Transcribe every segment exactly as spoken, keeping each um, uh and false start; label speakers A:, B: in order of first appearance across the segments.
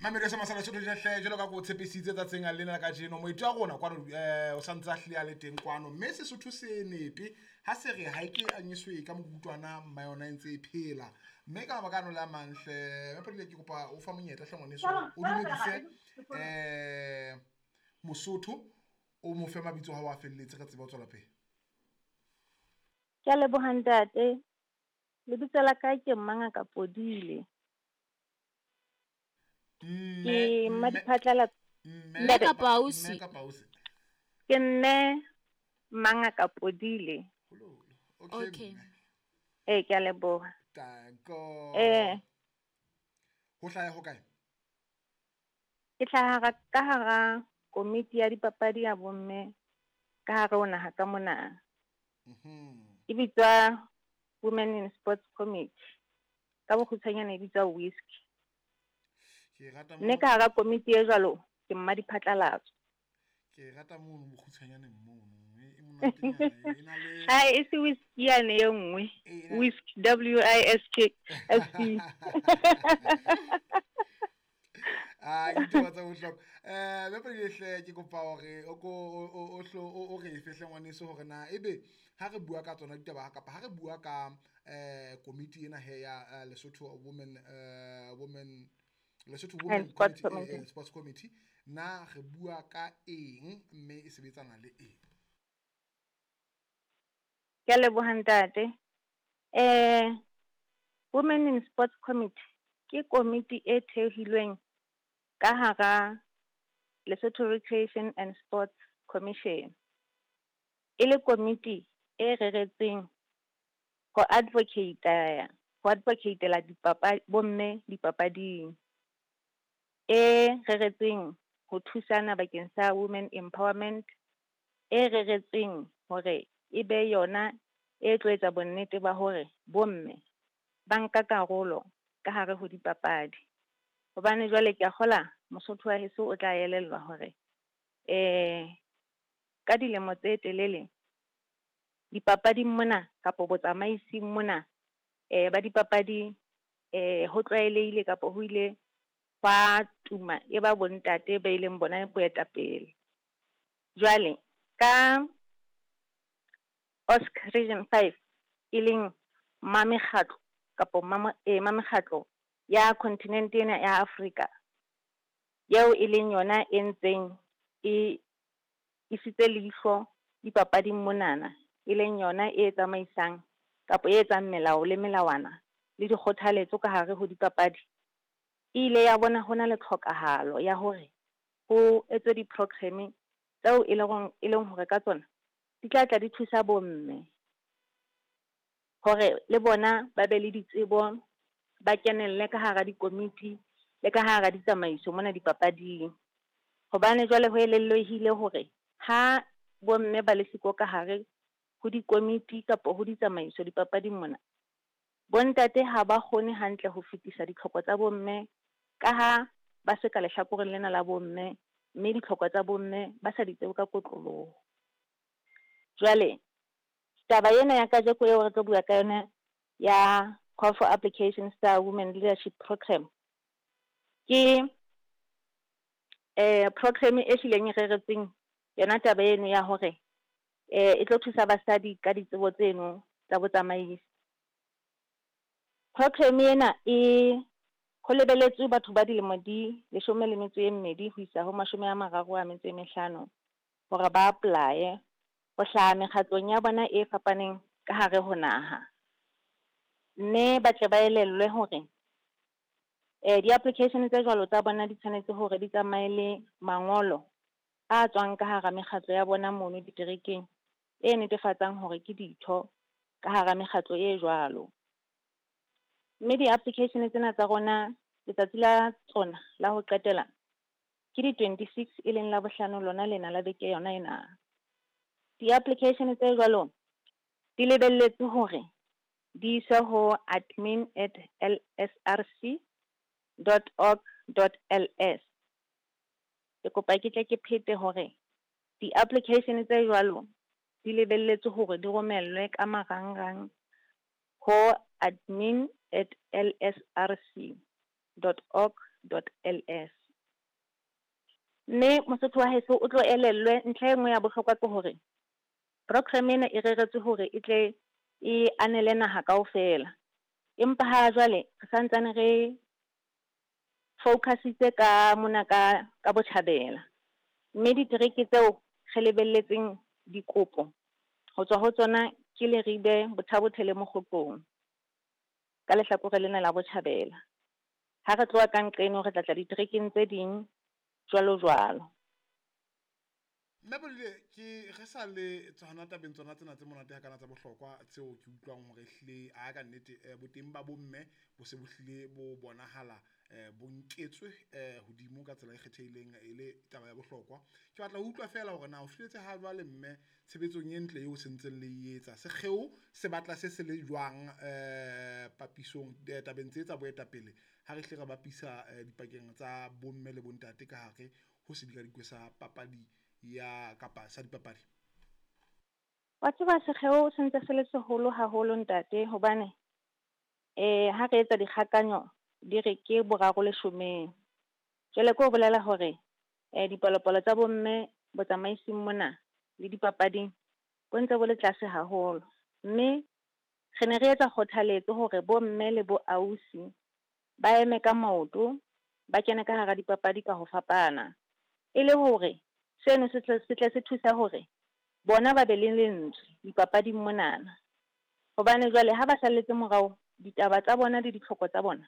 A: Mamedi sa masala Sotho hle jwalo ka ko tshepisitse tsatsing lena la kajeno moeti wa rona kwano eh o santse a hlile a le teng kwano mme Sesotho se nepe ha se re ha e ke anyiswe ka mokutwana mma yona e ntse e phela mme ka mabaka ano le a mang hle Mapodile ke kopa o fa monyetla hle ngwaneso o dumedise eh Mosotho o mo fe mabitso ha o a felletse re tsebe ho tswela pele.
B: Ke a leboha ntate. Lebitso la ka ke Mmangaka Podile. Ke Mmadiphatlalatso.
C: Mme kapa ausi?
A: Mme kapa ausi?
B: Ke mme Mmangaka Podile.
A: Okay.
C: Okay.
B: Eh, ke a leboha.
A: Tanko.
B: Eh.
A: Ho hlaha ho kae?
B: Ke hlaha ka hara komiti ya dipapadi ya bomme ka hare ho naha ka mona.
A: Mhm.
B: E bitswa Women in Sports Committee. Ka bokgutshwanyane e bitswa WISC.
A: Ke rata
B: Mme ka hara komiti e jwalo ke Mmadiphatlalatso.
A: Ke rata mono bokgutshwanyaneng mono. E monatenyana e na le
B: Ha e se whisky yane e nngwe.
A: E na-
B: WISC, W I S K S C.
A: Ah, ke ditaba tsa bohlokwa. Eh, Mapodile hle ke kopa hore o ko o o hlo o re fe hle ngwaneso hore na ebe ha re bua ka tsona ditaba kapa ha re bua ka eh komiti ena he ya Lesotho Women eh Women Lesotho Women
B: And Sports
A: Committee,
B: Committee.
A: Sports Committee na re bua ka eng mme e sebetsana le eng?
B: Ke a leboha ntate. Eh, Women in Sports Committee ke komiti e thehilweng ka hara Lesotho Recreation and Sports Commission. E le komiti e reretsweng ho advocate, ho advocatela dipapa bomme dipapading. E reretsweng ho thusana bakeng sa women empowerment, e reretsweng hore e be yona e tlo etsa bonnete ba hore bomme ba nka karolo ka hare ho dipapadi. Hobane jwale ke a kgola Mosotho wa heso o tla elellwa hore eh ka dilemo tse telele dipapading mona kapa botsamaising mona eh ba dipapadi eh ho tlwaelehile kapa ho ile hwa tuma e ba bontate ba ileng bona boetapele. Jwale ka OSC Region five e leng mamekgatlo kapa mama eh mamekgatlo ya kontinente ena ya Afrika eo e leng yona e ntseng e isitse leihlo dipapading monana, e leng yona e tsamaisang kapa e etsang melao le melawana le dikgothaletso ka hare ho dipapadi. E ile ya bona hona le tlhokahalo ya hore ho etswe di-programme tseo e leng e leng hore ka tsona di tla tla di thusa bomme hore le bona ba be le ditsebo, ba kenelle ka hara dikomiti le ka hara ditsamaiso mona dipapading. Hobane jwale ho elellwehile hore ha bomme ba le siko ka hare ho dikomiti kapa ho ditsamaiso dipapading mona, bontate ha ba kgone hantle ho fetisa ditlhoko tsa bomme ka ha ba se ka lehlakoreng lena la bomme, mme ditlhoko tsa bomme ba sa di tsebe ka kotloloho. Jwale taba ena ya kajeko eo re tlo bua ka yona ya Call for Applications tsa Women Leadership Program ke eh program e hlileng e reretsweng yona taba eno ya hore eh e tlo thusa basadi ka ditsebo tseno tsa botsamaisi. Program ena e ho lebeletswe batho ba dilemo di leshome le metso e mmedi ho isa ho mashome a mararo a metso e mehlano hore ba apply-e ho hlaha mekgatlong ya bona e fapaneng ka hare ho naha. Mme ba tle ba elellwe hore eh di-application tse jwalo tsa bona di tshwanetse hore di tsamaye le mangolo a tswang ka hara mekgatlo ya bona mono diterekeng e netefatsang hore ke ditho ka hara mekgatlo e jwalo. Mme di-application tsena tsa rona letsatsi la tsona la ho qetela ke di twenty-six e leng la bohlano lona lena la beke yona ena. Di-application tse jwalo di lebelletswe hore di iswe ho admin at l s r c dot org dot l s. Ke kopa ke tle ke phete hore di-application tse jwalo di lebelletswe hore di romellwe ka marangrang ho admin at l s r c dot org dot L S. Mme Mosotho wa heso o tlo elellwe ntlha e nngwe ya bohlokwa ke hore program ena e reretswe hore e tle e anele naha kaofela. Empa ha jwale re santsane re focusitse ka mona ka ka botjhabela. Mme ditereke tseo re lebelletseng dikopo ho tswa ho tsona ke Leribe, Botha-Bothe le Mokgotlong ka lehlakore lena la botjhabela. Ha re tloha ka nqeno re tla tla diterekeng tse ding jwalo jwalo.
A: Mme Podile, ke re sa le tsona tabeng tsona tsena tse monate hakana tsa bohlokwa tseo ke utlwang hore ehlile a ka nnete eh, boteng ba bomme bo se bo hlile bo bonahala eh, bo nketswe eh, hodimo ka tsela e kgethehileng e le taba ya bohlokwa. Ke batla ho utlwa feela hore na o fihletse ha jwale mme tshebetsong e ntle eo sentseng le e etsa, sekgeo se batla se se le jwang eh, papisong eh, tabeng tse tsa boetapele ha re hle re bapisa eh, dipakeng tsa bomme le bontate ka hare ho sedikadikwe sa papadi ya kapa sa dipapadi?
B: Wa tseba sekgeo se ntse se le seholo haholo ntate, hobane eh ha re etsa dikgakanyo di re ke boraro leshomeng. Jwale ke ho bolela hore eh dipalopalo tsa bomme botsamaising mona le dipapading bo ntse bo le tlase haholo. Mme re ne re etsa kgothaletso hore bomme le bo ausi ba eme ka maoto, ba kene ka hara dipapadi ka ho fapana, e le hore seno se tle se tle se thusa hore bona ba be le lentswe dipapading monana. Hobane jwale ha ba salletse morao, ditaba tsa bona le ditlhoko tsa bona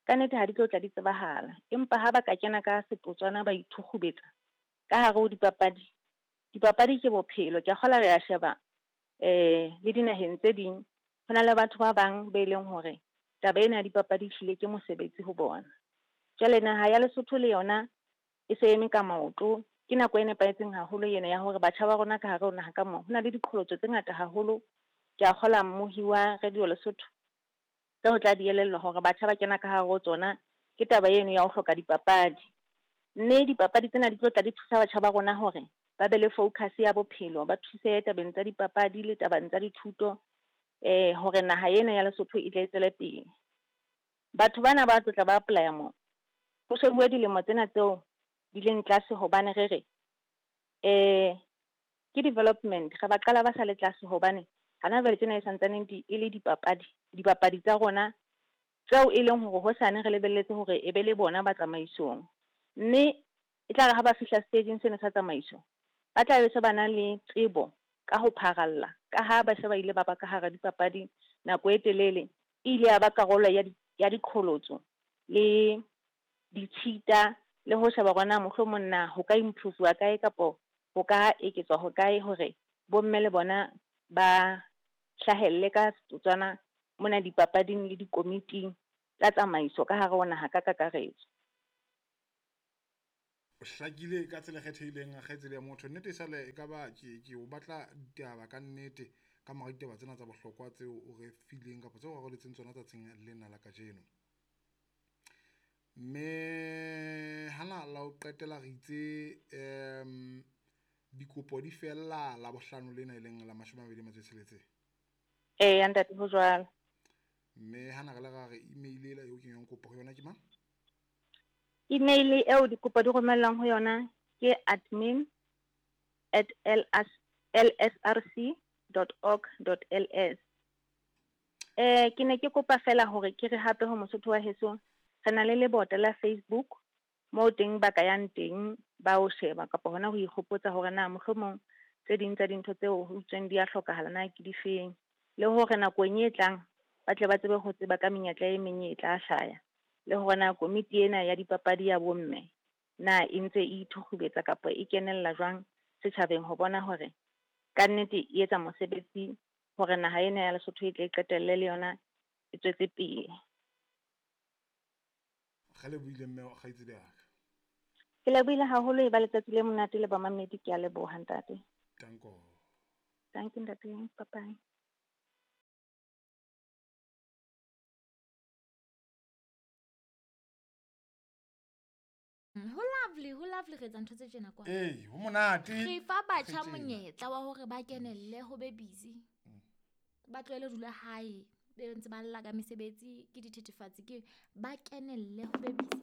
B: ka nnete ha di tlo tla di tsebahala. Empa ha ba ka kena ka setotswana ba ithukgubetsa ka hare ho dipapadi, dipapadi ke bophelo. Ke a kgolwa re a sheba eh le dinaheng tse ding ho na le batho ba bang be leng hore taba ena ya dipapadi ehlile ke mosebetsi ho bona. Jwale naha ya Lesotho le yona e se eme ka maoto. Ke nako e nepahetseng haholo ena ya hore batjha ba rona ka hare ho naha ka moo ho na le diqholotso tse ngata haholo. Ke a kgolwa mmohi wa Radio Lesotho tseo tla di elellwa hore batjha ba kena ka hare ho tsona ke taba eno ya ho hloka dipapadi. Mme dipapadi tsena di tlo tla di thusa batjha ba rona hore ba be le focus ya bophelo, ba thuse tabeng tsa dipapadi le tabeng tsa dithuto eh hore naha ena ya Lesotho e tle e tswele pele. Batho bana ba tlo tla ba apply-a mo ho shebuwe dilemo tsena tseo di leng tlase, hobane re re eh ke development, re ba qala ba sa le tlase hobane hana jwale tsena e santsaneng di e le dipapadi, dipapadi tsa rona tseo e leng hore hosane re lebelletse hore e be le bona ba tsamaisong. Mme e tla re ha ba fihla stageng sena sa tsamaiso, ba tla be se ba na le tsebo ka ho pharalla, ka ha ba se ba ile ba ba ka hara dipapadi nako e telele, e ile ya ba karolo ya di, ya diqholotso le ditshita le ho sheba hore na mohlomong na ho ka improve-wa kae kapo ho ka eketswa ho kae hore bomme le bona ba hlahelle ka setotswana mona dipapading le dikomiting tsa tsamaiso ka hare ho naha ka kakaretso.
A: O hlakile ka tsela e kgethehileng kgaitsedi ya motho. Nnete e sale e ka ba ke ke o batla ditaba ka nnete ka mora ditaba tsena tsa bohlokwa tseo o re fileng kapa tseo o re aroletseng tsona tsatsing lena la kajeno. Mme hana la ho qetela re itse um dikopo di fella la bohlano lena e leng la mashome a mabedi a metso e tsheletseng.
B: Eya ntate, ho jwalo.
A: Mme hana re le ra re email ela eo kenywang kopo ho yona ke mang?
B: Email eo dikopo di romellwang ho yona ke admin at l s r c dot org dot l s. Eh ke ne ke kopa fela hore ke re hape ho Mosotho wa heso, re na le lebota la Facebook moo teng ba ka yang teng ba o sheba kapa hona ho ikgopotsa hore na mohlomong tse ding tsa dintho tseo ho utsweng di a hlokahala na ke difeng, le hore nakong e tlang ba tle ba tsebe ho tseba ka menyetla e meng e tla hlaya, le hore na komiti ena ya dipapadi ya bomme na e ntse e ithukgubetsa kapa e kenella jwang setjhabeng ho bona hore ka nnete e etsa mosebetsi hore naha ena ya Lesotho e tle e qetelle le yona e tswetse pele.
A: Re lebohile mme kgaitsedi ya ka.
B: Ke lebohile haholo, e ba letsatsi le monate le bamamedi. Ke a leboha ntate.
A: Danko.
B: Thank you ntate. Bye bye.
C: Ho lovely, ho lovely re etsa ntho tse tjena kwa.
A: Ee, ho monate.
C: Re fa batjha monyetla wa hore ba kenelle ho be busy. Ba tlohele ho dula hae, be ntse ba lla ka mesebetsi, ke dithethefatsi, ke ba kenelle ho be busy.